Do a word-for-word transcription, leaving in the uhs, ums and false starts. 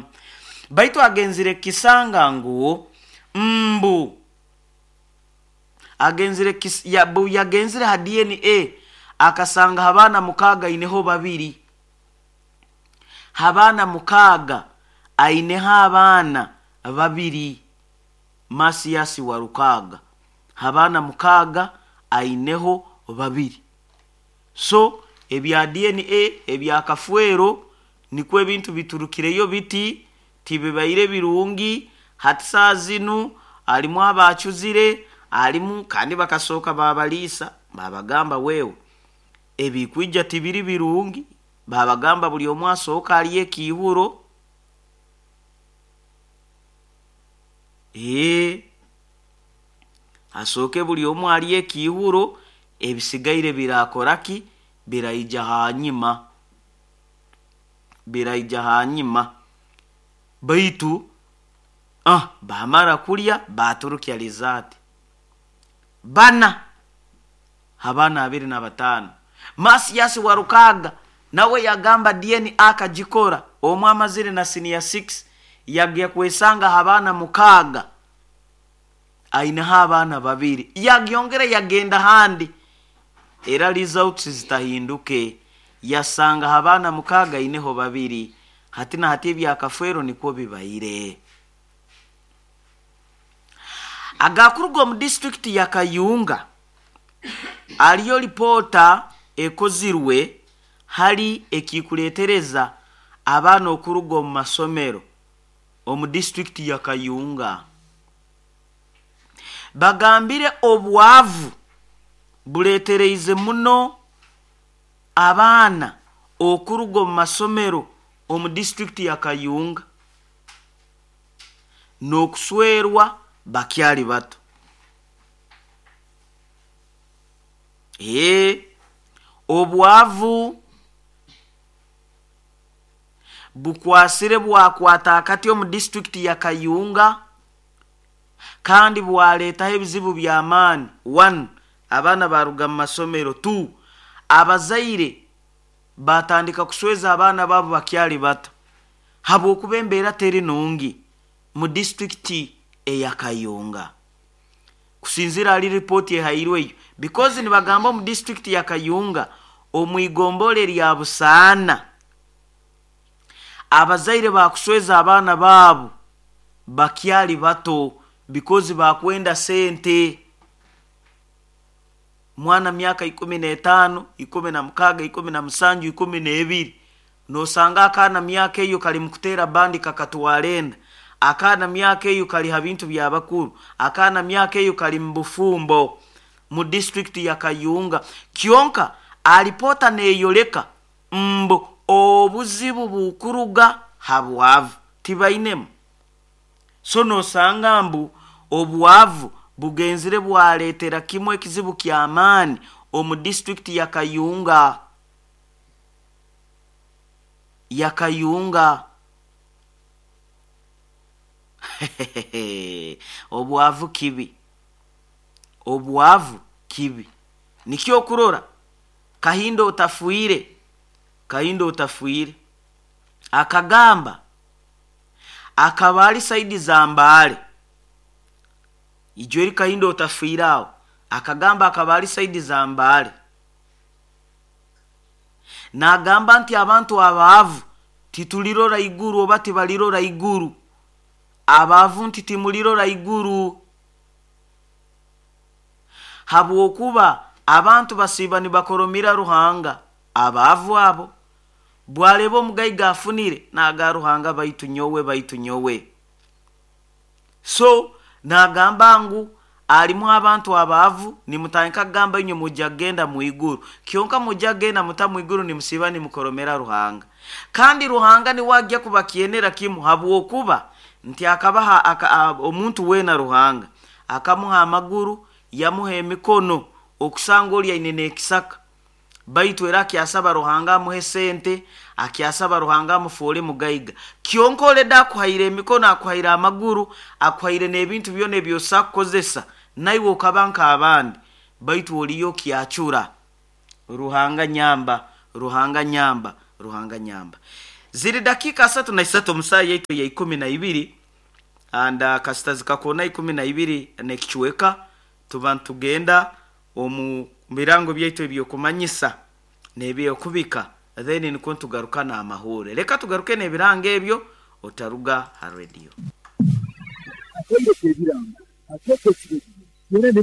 Kucwamu baitu agenzire kisanga ngu mbu agenzire kis, ya, bu yagenzire ha D N A akasanga abaana mukaaga aineho babiri, abaana mukaaga aineho abaana babiri. Masiasi Walukaga abaana mukaaga aineho babiri. So ebya D N A ebya Kafwero nikwo ebintu biturukireyo biti tibibaire birungi. Hati saa zinu alimu abacuzire alimu kandi bakasooka babaliisa babagamba wewe ebikwija tibiri birungi, babagamba buli omu asooka aliye ekihuro. Ee asooke buli omu aliye ekihuro, ebisigaire birakoraki biraija hanyima, biraija hanyima. Baitu ah bamara kulya baturukya lizaati bana abaana abiri na bataano. Masiasi Walukaga nawe yagamba D N A akagikora omu amazire na senior six yagya kwesanga abaana mukaaga aineho abaana babiri, yagyongera yagenda handi era results zitahinduke, yasanga abaana mukaaga aineho babiri. Hati na hati ebya Kafwero nikwo bibaire. Agakuruga omu district ya Kayunga aliyo ripota ekozirwe hali ekikuletereza abaana okuruga omu masomero omu district ya Kayunga. Bagambire obwavu buletereize muno abaana okuruga omu masomero omu district ya Kayunga n'okuswerwa bakyali bato. Ee obwavu bukwasire bwakwata akati omu district ya Kayunga kandi bwaleetaho ebizibu by'amaani. One, abaana baruga mu masomero. Two, abazaire batandika kusweza abaana baabo bakyali bato habwokuba embeera teri nungi mu district eya Kayunga. Kusinzira ali ripoti ehairweyo because nibagamba omu district ya Kayunga omwigombole lya Busaana abazaire bakusweza abaana baabo bakyali bato because bakwenda sente. Mwana myaka ikumi n'etaano, ikumi na mukaaga, ikumi na musanju, ikumi n'ebiri, nosanga akaana myaka eyo kali mukuteera bandi kakatwara enda, akaana myaka eyo kali ha bintu by'abakuru, akaana myaka eyo kali mu bufumbo mu district ya Kayunga. Kyonka alipota neyoleka mbu obuzibu bukuruga habwavu tibainemu. So nosanga mbu obwavu bugenzire bwaletera kimwe ekizibu ky'amaani omu district ya Kayunga ya Kayunga. Obwavu kibi, obwavu kibi. Nikyo okurora Kahindo otafuire, Kahindo otafuire akagamba akaba ali saidi za Mbale. Ijweri Kahindo otafuire aho akagamba akaba ali saidi za Mbale, nagamba nti abantu abaavu titulirora iguru oba tibalirora iguru, abaavu nti timulirora iguru, habwokuba abantu basiiba nibakoromira Ruhanga. Abaavu abo bwareba omugaiga afunire naga Ruhanga baitu nyowe, baitu nyowe. So nagamba ngu alimu abantu abaavu nimutandika kugamba inywe mujja kugenda mu iguru, kyonka mujja kugenda muta mu iguru nimusiiba nimukoromera Ruhanga, kandi Ruhanga niwe ajja kubakyenera kimu habwokuba nti akabaha aka, omuntu weena Ruhanga akamuha amaguru yamuha emikono okusanga oli aine n'ekisaka, baitu era akyasaba Ruhanga amuhe sente, akyasaba Ruhanga amufuule mugaiga. Kyonka oleda akuhaire emikono, akuhaire amaguru, akuhaire n'ebintu byona ebyosa kukozesa, naiwe okaba nk'abandi, baitu oliyo kyacura. Ruhanga nyamba, Ruhanga nyamba, Ruhanga nyamba. Ziri dakiika asatu na isatu omu saaha yaitu ya ikumi na ibiri, and uh, kasita zikakona ikumi na ibiri n'ekicweka, tuba ntugenda omu birango byaitu ebyokumanyisa n'ebyokubika, then nikwo ntugaruka n'amahure. Leka tugaruke n'ebirango ebyo, otaruga ha radio. Akaire k'ebirango akeekesire byona.